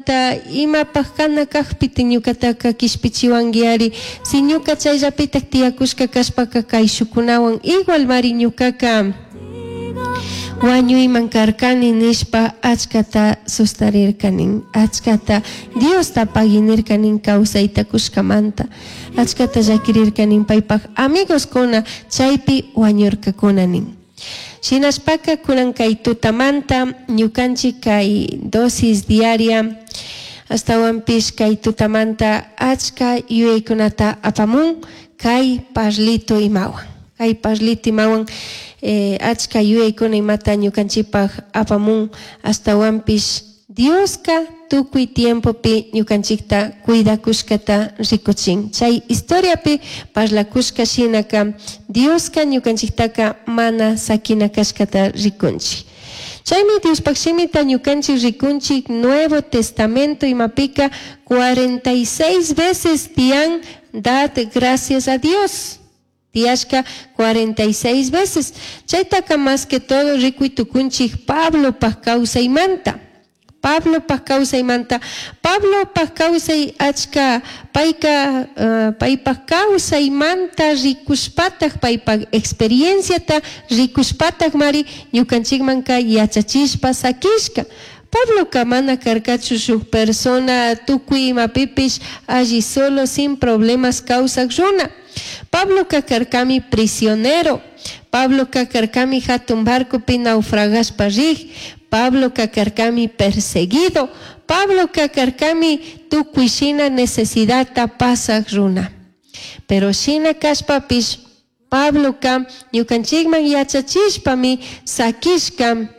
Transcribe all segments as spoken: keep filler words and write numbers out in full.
Tata, imapaj kana kajpita ñukataka kishpichiwanguiari, si ñuka chayllapitak tiyakushka kashpaka kayshukunawan igual mari ñukaka wañuyman karkani nishpa achkata sustarirkanin, achkata Diosta paginirkanin kawsayta kushkamanta, achkata llakirirkanin paypaj amigos-kuna chaypi wañurkakuna nin. Shinashpaka kunan kay tutamanta ñukanchik kay dosis diaria ashtawanpish kay tutamanta achka yuyaykunata apamun kay parlito imawan, kay parlito imawan eh, achka yuyaykuna imata ñukanchikpaj apamun ashtawanpish Dioska tukuy tiempopi ñukanchikta cuidakushkata rikuchin. Chay historiapi parlakushka shinaka Dioska ñukanchiktaka mana sakina kashkata rikunchik. Chaymi Diospaj shimita ñukanchik rikunchik Nuevo Testamento imapika cuarenta y seis veces tiyan dad gracias a Dios. Tiyashka cuarenta y seis veces. Chaytaka más que todo rikuy tukunchik Pablopaj kawsaymanta. Pablopaj kawsaymanta. Pablopaj kawsay achka payka, uh, paypaj kawsaymanta rikushpataj paypaj experienciata rikushpataj mari ñukanchikmanka yachachishpa sakishka. Pabloka mana karkachu shuk persona tukuy imapipish alli solo sin problemas kawsak runa. Pabloka karkami prisionero. Pabloka karkami hatun barcopi naufragashpa rik. Pabloka karkami perseguido. Pabloka karkami tukuy shina necesidadta pasak runa. Pero shina kashpapish Pabloka ñukanchikman yachachishpami sakishka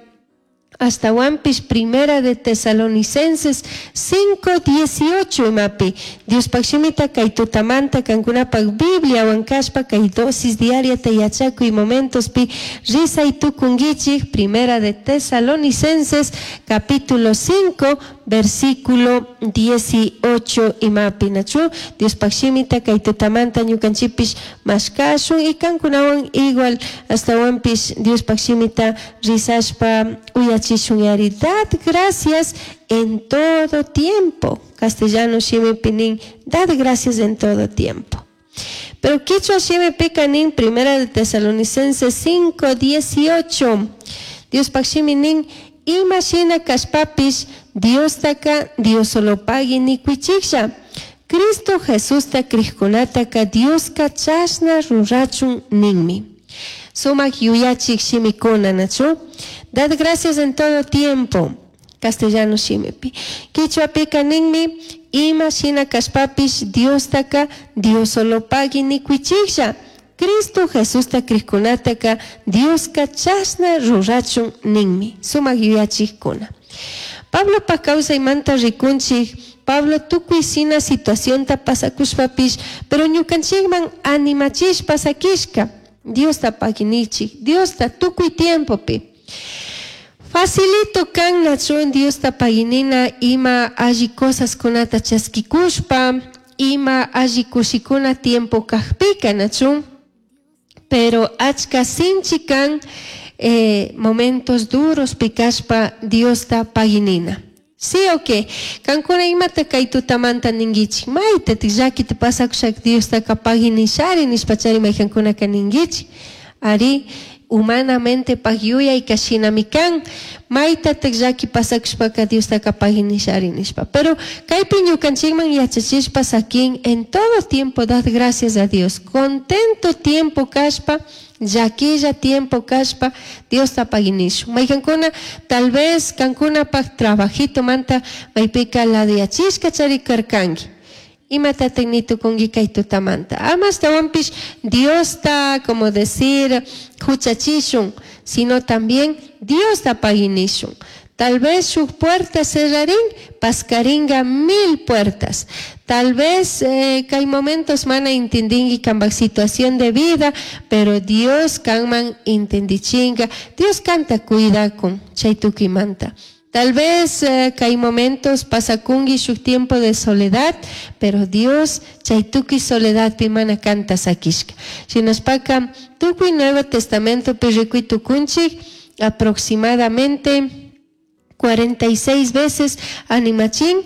ashtawanpish Primera de Tesalonicenses cinco dieciocho imapi. Diospaj shimita kay tutamanta kankunapaj Bibliawan kashpa kay dosis diariata yachakuy momentospi risay tukunkichik. Primera de Tesalonicenses capítulo cinco versículo dieciocho imapi nachu. Diospaj shimita kay tutamanta ñukanchikpish mashkashun y kankunawan igual ashtawanpish Diospaj shimita risashpa uyachishun yari. Dad gracias en todo tiempo. Castellano shimipi nin, dad gracias en todo tiempo. Pero quichua shimipika nin, Primera de Tesalonicenses cinco dieciocho. Diospaj shimi nin, ima shina kashpapish Diostaka Dios solo pagui nikuichiklla. Cristo Jesusta krijkunataka Dioska chashna rurachun ninmi. Sumak yuyachik shimikuna, nachu? Dad gracias en todo tiempo. Castellano shimipi. Quichuapika ninmi, ima shina kashpapish Diostaka Dios solo pagui nikuichiklla. Cristo Jesusta krijkunataka Dioska chashna rurachun ninmi. Sumak yuyachikkuna. Pablopaj kawsaymanta rikunchik, Pablo tukuy shina situacionta pasakushpapish, pero ñukanchikman animachishpa sakishka. Diosta paginichik, Diosta tukuy tiempopi. Facilito kan nachun Diosta paginina ima alli cosas kunata chaskikushpa, ima alli kushikuna tiempo kajpika nachun, pero achka sinchi kan, eh, momentos duros pikashpa Diosta paginina. Sí o qué? Kankuna imata kay tutamanta ninguichik, mayta llakita pasakushak Diostaka paginishari nishpachari maykankunaka ninguichik. Ari, humanamente pag yuyay kashinami kan, maytatak llaki pasakushpaka Diostaka paginishari nishpa. Pero kaypi ñukanchikman yachachishpa sakin en todo tiempo dad gracias a Dios. Contento tiempo kashpa, llaquilla tiempo kashpa, Diosta paginishun. Maykankuna, tal vez kankunapaj trabajito manta maypika ladiyachishka chari karkanki. Imatatak nitukunki kay tutamanta. Ama ashtawanpish Diosta, como decir, huchachishun, sino también Diosta paginishun. Tal vez shuk puerta cerrarín, pascaringa mil puertas. Tal vez, eh, que hay momentos mana intendingi kambak situación de vida, pero Dios kanman intendichinga. Dios canta cuida con chaytuki manta. Tal vez, eh, que hay momentos pasacungi shuk tiempo de soledad, pero Dios chaytuki soledad pimana canta sakishka. Shinaspaka tukuy Nuevo Testamento pirrikuy tukunchik aproximadamente cuarenta y seis veces animachin